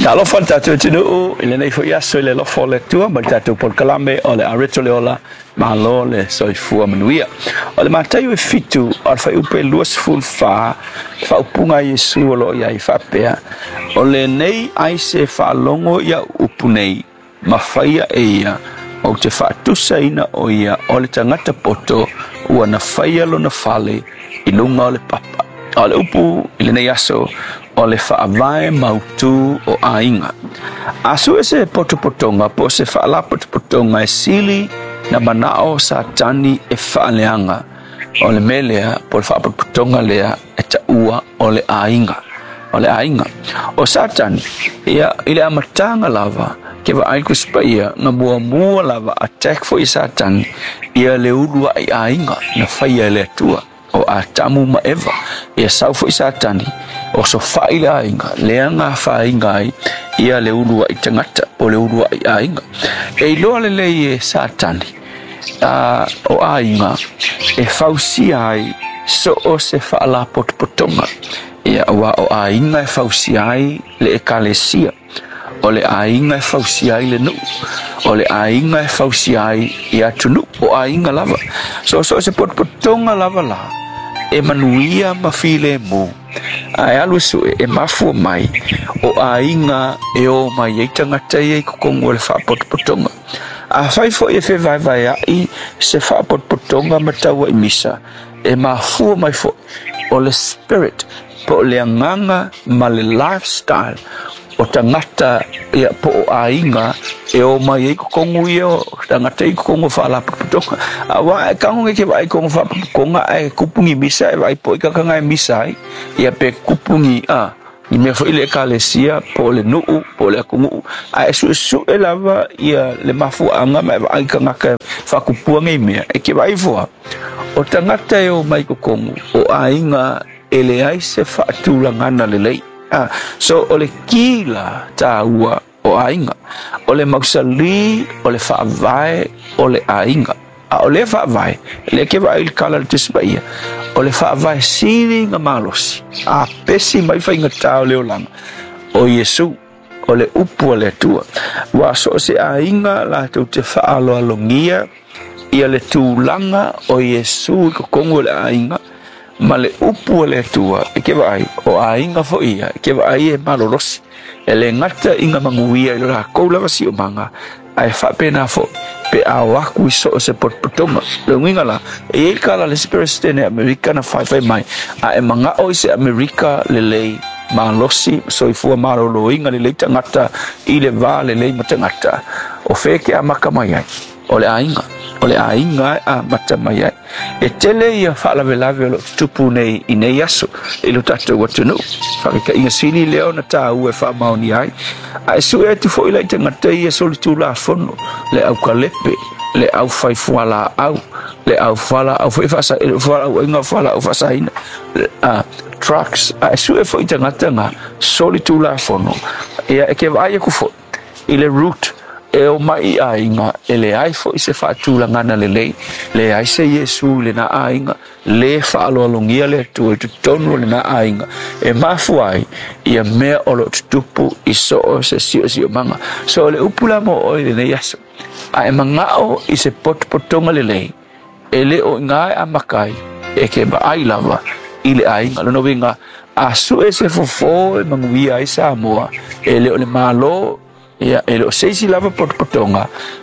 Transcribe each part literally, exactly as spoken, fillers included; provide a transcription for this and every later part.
Talofa le tatou atunuu i lenei foi aso i le alofa o le Atua ma le tatou polokalame o le Areto le Ola, malo le soifua manuia. O le Mataio e fitu o le fuaiupu e luasefulu fa, le faaupuga a Iesu o lo o i ai faapea, o lenei ai se faalogo i au upu nei, ma faia e ia, ou te faatusaina o ia o le tagata poto ua na faia lona fale i luga o le papa. O le upu i lenei aso o le faavae mautu o aiga. A sue se potopotoga po o se faalapotopotoga e sili na manao Satani e faaleaga, o le mea lea po o le faapotopotoga lea e taua o le aiga. O le aiga. O Satani, ia, i le amataga lava, ke vaai le Tusi Paia, na muamua lava attack foi Satani, ia le uluai aiga na faia e le Atua, o Atamu ma Eva. Ia sau foi Satani, o sofa'i le aiga, lea na afaina ai ia le uluai tagata, po o le uluai aiga. E iloa lelei e Satani, uh, o aiga e fausia ai so o se faalapotopotoga. Ia, aua o aiga e fausia ai le ekalesia, o le aiga e fausia ai le nuu, o le aiga e fausia ai i atunuu, o aiga lava. So so se potopotoga lava la e manuia ma filemu, ae alu e sue e mafua mai o aiga e o mai ai tagata ia i totonu o le faapotopotoga. Afai foi e fevaevaea'i se faapotopotoga ma taua'i misa, e mafua mai foi o le spirit po o le agaga ma le lifestyle o tagata ia po o aiga e o mai ai totonu ia o tagata i totonu o faalapotopotoga. Aua e tago nei ke vaai i totonu o faapotopotoga ae tupu ni misa e vaai po i tagata e misa ai, ia pe tupu ni a ni mea foi le ekalesia po o le nuu po o le atunuu, ae suesue lava ia le mafuaaga ma e vaai tagata e faatupua nei mea. E ke vaai foa o tagata e o mai totonu o aiga e leai se faatulagana lelei. Ah, so o le kila tāua o aiga, o le mausali, o le faavae o le aiga. A o le faavae, le ke vaai i le kala le Tusi Paia, o le faavae sili na malosi, a pesi mai faigata o le olaga, o Iesu, o le upu a le Atua. Ua so o se aiga latou te faaaloalogia ia le tulaga o Iesu i totonu o le aiga, ma le upu a le Atua, e ke vaai, o aiga foi ia, e ke vaai e malolosi, e le gata i ngā manuia i lo lakou lava siomaga, ae faapena foi pe a o aku i so o se potopotoga. Le uiga la, e i ai kala le isi Peresetene Amerika na faifai mai, a e maga'o i se Amerika lelei, malosi, soifua malōlōina lelei tagata i le va lelei ma tagata, o fea ke amata mai ai? O le aiga. O le aiga e amata mai ai. E tele ia faalavelave o lo o tutupu nei i nei aso i lo tatou atunuu. Faataitaiga sili lea ona tāua e faamaonia ai. Ae sue atu foi la i tagata ia solitulafono, le aukalepe, le aufai fualaau, le au fualaau foi faasa, fualaauaiga fualaau faasaina, uh, trucks, ae sue foi tagata nga solitulafono. Ia e ke vaai aku foi i le root e o mai i aiga, e leai foi se faatulagana lelei, leai se Iesu i lena aiga, le faaaloalogia le Atua i totonu o lena aiga, e mafua ai ia mea o lo o tutupu i so o se siosiomaga. So o le upu la mo oe i lenei aso, a e maga'o i se potopotoga lelei, e le o i gā e amata ai, e ke vaai lava i le aiga. Lona uiga, a sue se fofo e manuia ai Samoa, e le o le Malo, ia, e le o se isi lava potopotoga,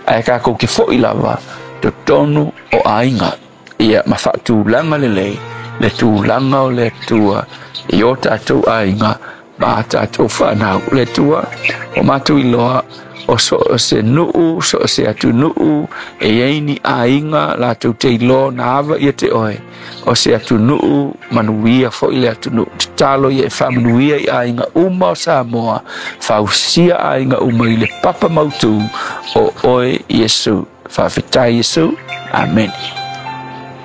ae tatou te foi lava totonu o aiga, ia ma faatulaga lelei le tulaga o le Atua i o tatou aiga ma a tatou fanau. Le Atua, o matou iloa o so o se nuu, so o se atunuu, e i ai ni aiga latou te iloa na ava ia te oe, o se atunuu manuia foi le atunuu. Tatalo ia e faamanuia i aiga uma o Samoa, fausia aiga uma i le papa mautu o oe Iesu. Faafetai Iesu. Amene.